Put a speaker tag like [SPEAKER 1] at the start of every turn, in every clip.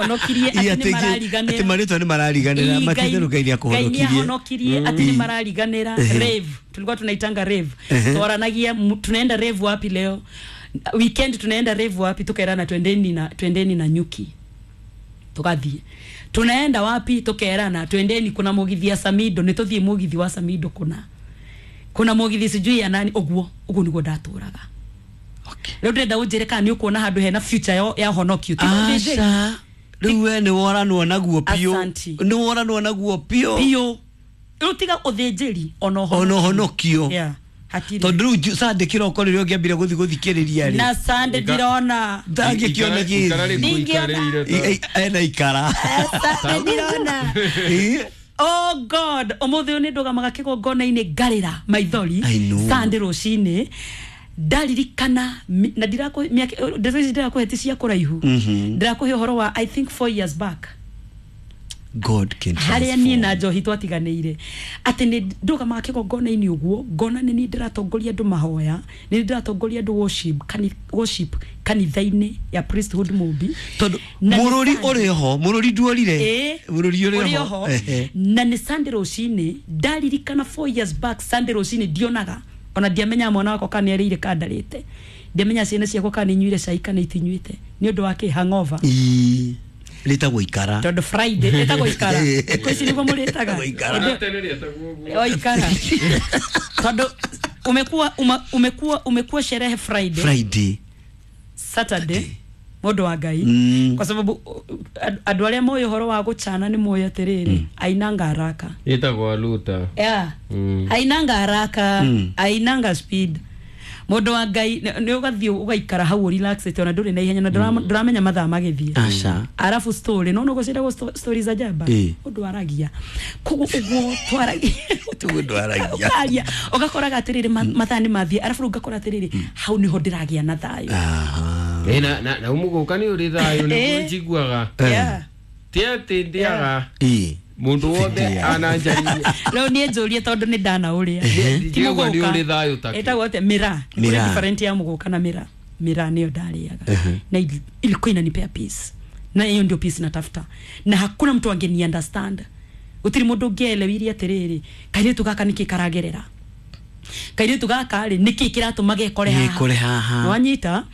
[SPEAKER 1] Honokirie
[SPEAKER 2] Ii,
[SPEAKER 1] atĩ nĩ marariganĩra.
[SPEAKER 2] Atĩ marĩtwa nĩ marariganĩra.
[SPEAKER 1] Ii,
[SPEAKER 2] Matitherũ Ngai nĩ
[SPEAKER 1] Ngai nĩ
[SPEAKER 2] akũhonokirie.
[SPEAKER 1] ahonokirie, atĩ nĩ marariganĩra. Rave, tulikuwa tunaitanga rave. Twaranagia, tunaenda rave wapi leo weekend, tunaenda rave wapi? Tukaerana twendeni na nyuki, tugathiĩ. Tunaenda wapi? Tukerana twendeni, kuna mugithi ya Samido, nĩ tũthiĩ mugithi wa Samido, kuna mugithi sijui ya nani. Ũguo ũguo nĩguo ndatũraga. Rĩu ndĩrenda ũnjĩre kana nĩ ũkuona handũ hena future ya honokio. Ti ũthĩnjĩri.
[SPEAKER 2] Aca, rĩu we nĩ woranwo naguo biũ.
[SPEAKER 1] Asanti.
[SPEAKER 2] Nĩ woranwo naguo biũ.
[SPEAKER 1] Biũ. Rĩu tiga ũthĩnjĩri, ona
[SPEAKER 2] ona ũhonokio.
[SPEAKER 1] Yeah, hatirĩ.
[SPEAKER 2] Tondũ rĩu Sunday kĩroko rĩrĩa ũngĩambire gũthiĩ gũthikĩrĩria rĩ,
[SPEAKER 1] Na Sunday ndirona.
[SPEAKER 2] Ndangĩkĩona.
[SPEAKER 3] Ikara
[SPEAKER 2] gĩthi
[SPEAKER 3] rĩkũ ikarĩire
[SPEAKER 2] ena ikara.
[SPEAKER 1] Sunday ndirona. Oh God, ũmũthĩ ũyũ nĩ ndũgamaga kĩgongona-inĩ ngarĩra maithori.
[SPEAKER 2] I know.
[SPEAKER 1] Sunday rũcinĩ ndaririkana na ndirakũhe ndeto ici, ndirakũhe ti cia kũraihu. Ndirakũhe ũhoro wa, I think, 4 years back.
[SPEAKER 2] God can
[SPEAKER 1] Harĩa niĩ
[SPEAKER 2] transform.
[SPEAKER 1] Na njohi twatiganĩire, atĩ nĩ ndũgamaga kĩgongona-inĩ ũguo ngona nĩ niĩ ndĩratongoria andũ mahoya, nĩ niĩ ndĩratongoria andũ worship, worship kanitha-inĩ ya Priesthood Mũmbi.
[SPEAKER 2] Tondũ
[SPEAKER 1] Na nĩ
[SPEAKER 2] mũrũri
[SPEAKER 1] Sunday.
[SPEAKER 2] ũrĩ ho, mũrũri nduorire.
[SPEAKER 1] Ĩĩ,
[SPEAKER 2] Mũrũri ũrĩ
[SPEAKER 1] ũrĩ
[SPEAKER 2] ho.
[SPEAKER 1] oho.
[SPEAKER 2] Ehe.
[SPEAKER 1] Na nĩ Sunday rũcinĩ ndaririkana 4 years back, Sunday rũcinĩ ndionaga, ona ndiamenya mwana wakwa kana nĩ arĩire kana ndarĩte, ndiamenya ciana ciakwa kana inyuire cai kana itinyuĩte, nĩ ũndũ wa kĩ? Hangover.
[SPEAKER 2] Ii, rĩtagwo ikara.
[SPEAKER 1] Tondũ Friday ĩtagwo ikara. Thikũ ici nĩguo mũrĩtaga.
[SPEAKER 2] Ĩtagwo ikara.
[SPEAKER 3] Ona tene rĩetagwo ũguo.
[SPEAKER 1] O ikara, tondũ umekuwa sherehe Friday,
[SPEAKER 2] Friday,
[SPEAKER 1] Saturday, mũndũ wa Ngai. Kwa sababu andũ arĩa moĩ ũhoro wa gũcana nĩ moĩ atĩrĩrĩ, ainanga haraka.
[SPEAKER 3] Ĩtagwo aluta.
[SPEAKER 1] Yeah. Ainanga haraka. Ainanga speed, mũndũ wa Ngai. Nĩ ũgathiĩ ũgaikara hau relaxed, ona ndũrĩ na ihenya na ndũramenya mathaa magĩthiĩ.
[SPEAKER 2] Aca.
[SPEAKER 1] Arabu story no nũgũ ciĩtagwo story za jaba. Ũndũ aragia koguo ũguo twaragia.
[SPEAKER 2] Tiguo ndwaragia.
[SPEAKER 1] Ũkaria ũgakoraga atĩrĩrĩ, mathaa nĩ mathiĩ, arabu rĩu ngakora atĩrĩrĩ, hau nĩho ndĩragĩa na thayũ.
[SPEAKER 3] Ĩ, na mũgũka nĩ ũrĩ thayũ nĩguo njiguaga. Ti atĩ ndĩaga mũndũ wothe
[SPEAKER 2] Ndĩaga.
[SPEAKER 3] ananjarĩria.
[SPEAKER 1] Rĩu niĩ njũrie, tondũ nĩ ndana ũrĩa. Ti
[SPEAKER 3] Njiguaga nĩ
[SPEAKER 1] mũgũka.
[SPEAKER 3] ũrĩ thayũ take.
[SPEAKER 1] Ĩtagwo atĩa? Mĩraa.
[SPEAKER 2] Mĩraa.
[SPEAKER 1] Kũrĩ different ya mũgũka na mĩraa. Mĩraa nĩyo ndarĩaga na ilikuwa inanipea peace, na hiyo ndio peace natafuta, na hakuna mtu angeni understand. Gũtirĩ mũndũ ũngĩelewirie atĩrĩrĩ, kairĩtu gaka nĩkĩ karagerera, kairĩtu gaka rĩ nĩkĩ kĩratũma gekore haha.
[SPEAKER 2] Gekore haha.
[SPEAKER 1] Wanyita?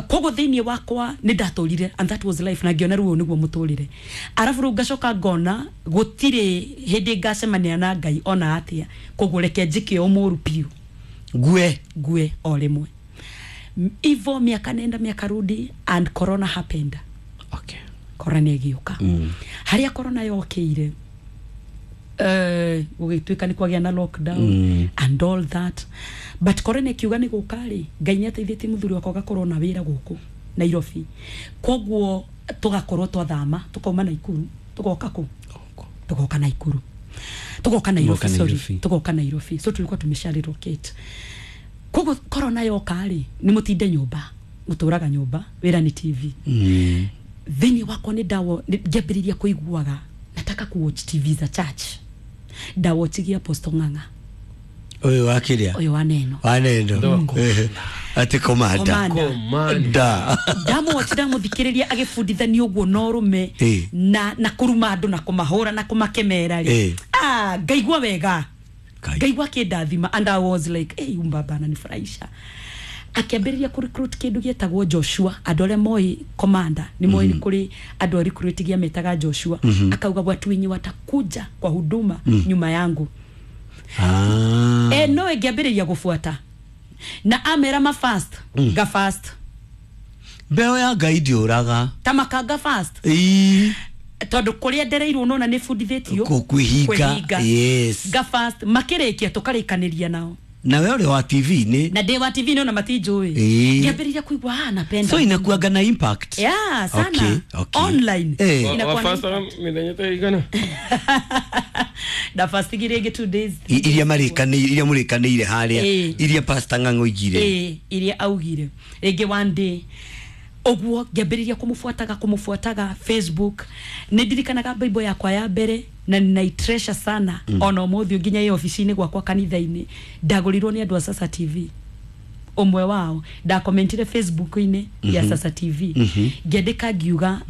[SPEAKER 1] Koguo thĩinĩ wakwa nĩ ndatũrire, and that was life, na ngĩona rĩu ũyũ nĩguo mũtũrĩre. Arabu rĩu ngacoka ngona gũtirĩ hĩndĩ ngacemania na Ngai ona atĩa, koguo reke njĩke o mũru biũ.
[SPEAKER 2] Ngue.
[SPEAKER 1] Ngue o rĩmwe. Ivo miaka nenda miaka rudi and corona happened. Corona ĩgĩũka. Harĩa corona yokĩire, gũgĩtuĩka nĩ kwagĩa na lockdown and all that, but corona ĩkiuga nĩ gũka rĩ, Ngai nĩ ateithĩtie mũthuri wakwa agakorwo na wĩra gũkũ Nairobi, koguo tũgakorwo twathama, tũkauma Naikuru, tũgoka kũ, tugoka Naikuru, tugoka Nairobi.
[SPEAKER 2] Tugoka
[SPEAKER 1] Sorry.
[SPEAKER 2] Nairobi.
[SPEAKER 1] Tugoka Nairobi, so tulikuwa tumesha relocate. Koguo corona yoka rĩ, nĩ mũtinde nyũmba, mũtũraga nyũmba, wĩra nĩ TV. Thĩinĩ wakwa nĩ ndawo ngĩambĩrĩria kũiguaga nataka kuwatch TV za church. Ndawochigia Apostle Ng'ang'a.
[SPEAKER 2] Ũyũ wa kĩrĩa?
[SPEAKER 1] Ũyũ wa Neno.
[SPEAKER 2] Wa Neno.
[SPEAKER 3] Ndoko.
[SPEAKER 2] Ehe. Atĩ komanda.
[SPEAKER 1] Commander.
[SPEAKER 3] Commander.
[SPEAKER 2] Da.
[SPEAKER 1] Ndamũwochi, ndamũthikĩrĩria agĩbundithania ũguo na ũrũme na kũruma andũ na kũmahũra na kũmakemera rĩ, ah, ngaigua wega.
[SPEAKER 2] Ngai.
[SPEAKER 1] Ngaigua akĩndathima, and I was like, hey, umbaba ananifurahisha. Akĩambĩrĩria kũ recruit kĩndũ gĩetagwo Joshua. Andũ arĩa moĩ commander nĩ moĩ nĩ kũrĩ andũ a recruit gĩa metaga Joshua. Akauga watu wenye watakuja kwa huduma nyuma yangu.
[SPEAKER 2] Ah.
[SPEAKER 1] E, no ĩngĩambĩrĩria gũbuata na amera ma fast, nga fast.
[SPEAKER 2] Mbeũ ya Ngai ndĩũraga.
[SPEAKER 1] Ta makanga fast. Tondũ kũrĩa ndereirwo nona nĩ bundithĩtio
[SPEAKER 2] Kwĩhinga.
[SPEAKER 1] kwĩhinga. Nga fast, makĩrĩkia tũkarĩkanĩria nao.
[SPEAKER 2] Na we ũrĩ wa TV-inĩ.
[SPEAKER 1] Na ndĩ wa TV nona matinjũĩ. Ngĩambĩrĩria kũigua, ah, napenda.
[SPEAKER 2] So inakuanga na impact.
[SPEAKER 1] Yeah, sana. Online. Inakuwa na
[SPEAKER 3] Wafasta
[SPEAKER 1] impact.
[SPEAKER 3] mĩthenya ta igana.
[SPEAKER 1] Ndafastigi rĩngĩ 2 days.
[SPEAKER 2] Iria marĩkanĩire, iria mũrĩkanĩire harĩa, iria Pastor Ng'ang'a oigire.
[SPEAKER 1] Ĩĩ, iria augire, rĩngĩ one day ũguo ngĩambĩrĩria kũmũbuataga, kũmũbuataga Facebook. Nĩ ndirikanaga Bible yakwa ya mbere na ninaitreasure sana. Ona ũmũthĩ nginya ĩ obici-inĩ gwakwa kanitha-inĩ, ndagũrirwo nĩ andũ a Sasa TV. Ũmwe wao ndakomentire Facebook-inĩ ya Sasa TV, ngĩandĩka ngiuga.